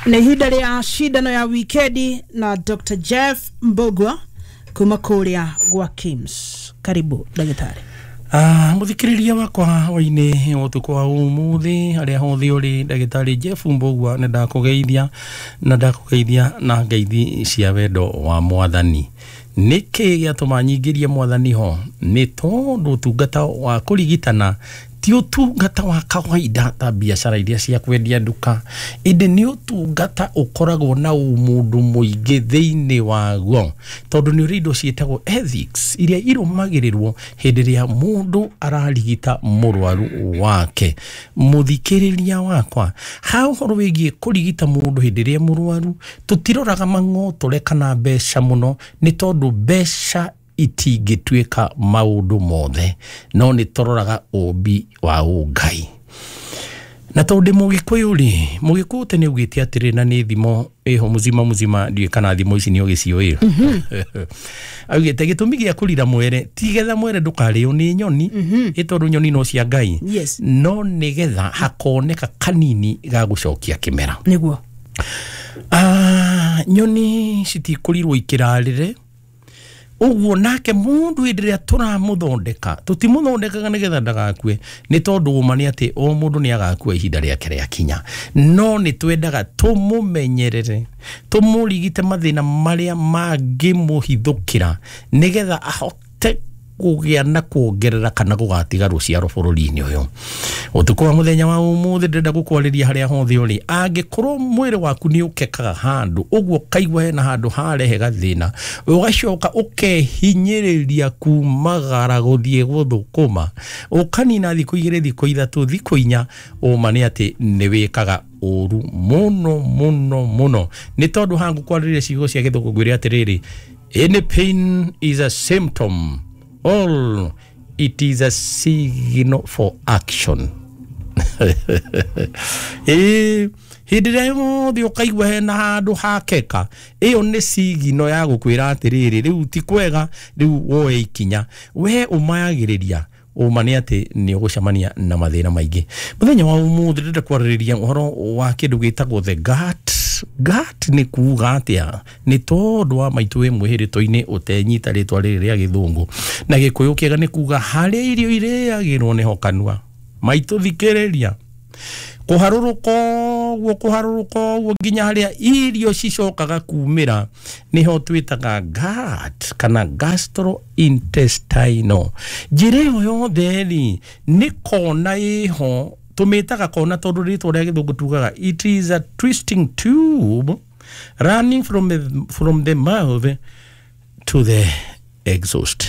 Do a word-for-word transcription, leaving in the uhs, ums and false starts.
Nĩ ihinda rĩa cindano ya wikendi na Doctor Jeff Mbugua kuma kũrĩa gwa KIMS. Karibu ndagĩtarĩ. Ah, muthikiriria wakwa waini utuku wa umuthi haria hothe uri, ndagitari Jeff Mbugua nĩ ndakũgeithia na ndakũgeithia na ngeithi cia wendo wa mwathani. Nĩkĩ gĩatũma nyingĩrie mwathani ho? Nĩ tondũ ũtungata wa kũrigitana ti ũtungata wa kawaida ta biacara iria cia kwendia nduka, ĩndĩ nĩ ũtungata ũkoragwo na ũmũndũ mũingĩ thĩinĩ waguo, tondũ nĩ ũrĩ indo ciĩtagwo ethics iria irũmagĩrĩrwo hĩndĩ ĩrĩa mũndũ ararigita mũrwaru wake. Mũthikĩrĩria wakwa, ha ũhoro wĩgiĩ kũrigita mũndũ hĩndĩ ĩrĩa mũrwaru, tũtiroraga mang'otore kana mbeca mũno, nĩ tondũ mbeca itingĩtuĩka maũndũ mothe, no nĩ tũroraga ũmbi wa ũngai. Na tondũ ndĩ mũgĩkũyũ rĩ, mũgĩkũyũ tene augĩte atĩrĩ, na nĩ thimo ĩho muzima muzima, ndiũĩ kana thimo ici nĩ ũgĩciũĩ. Augĩte gĩtũmi gĩa kũrira mwere ti getha mwere ndũkarĩo nĩ nyoni, ĩ tondũ nyoni no cia Ngai, Yes. no nĩgetha hakoneka kanini ga gũcokia kĩmera. Nĩguo. Ah, nyoni citikũrirwo ikĩrarĩre ũguo, nake mũndũ hĩndĩ ĩrĩa tũramũthondeka tũtimũthondekaga nĩgetha ndagakue, nĩ tondũ ũma nĩ atĩ o mũndũ nĩ agakua ihinda rĩake rĩakinya, no nĩ twendaga tũmũmenyerere, tũmũrigite mathĩna marĩa mangĩmũhithũkĩra nĩgetha ahote kũgĩa na kuongerera kana gũgatiga rũciaro bũrũri-inĩ ũyũ. Ũtukũ wa mũthenya wa ũmũthĩ ndĩrenda gũkwarĩria harĩa hothe ũrĩ, angĩkorwo mwĩrĩ waku nĩ ũkekaga handũ ũguo, ũkaigua hena handũ harehe gathĩna, ũgacoka ũkehinyĩrĩria kumagara gũthiĩ gũthũkũma, ũkanina thikũ igĩrĩ, thikũ ithatũ, thikũ inya, ũma nĩ atĩ nĩ wĩkaga ũru mũno mũno mũno. Nĩ tondũ haha ngũkwarĩria ciugo cia gĩthũngũ ngwĩre atĩrĩrĩ, any pain is a symptom, all it is a signal for action. Ĩĩ, hĩndĩ ĩrĩa yothe ũkaigua hena handũ hakeka, ĩyo nĩ sigino ya gũkwĩra atĩrĩrĩ, rĩu ti kwega, rĩu woe ikinya. We ũmayagĩrĩria, ũma nĩ atĩ nĩ ũgũcemania na mathĩna maingĩ. Mũthenya wa ũmũthĩ ndĩrenda kwarĩrĩria ũhoro wa kĩndũ gĩtagwo the gut. Gut nĩ kuga atĩa? Nĩ tondũ wa maitũ wĩ mwĩhĩrĩto-inĩ ũtenyita rĩtwa rĩrĩ rĩa gĩthũngũ na gĩkũyũ kĩega nĩ kuga harĩa irio irĩagĩrwo nĩho kanua. Maitũ thikĩrĩria, kũharũrũka ũguo, kũharũrũka ũguo nginya harĩa irio cicokaga kumĩra nĩho twĩtaga gut kana gastrointestinal. Njĩra ĩyo yothe rĩ, nĩ kona ĩho, tũmĩtaga kona tondũ rĩtwa rĩa gĩthũngũ tugaga it is a twisting tube running from the, from the mouth to the exhaust.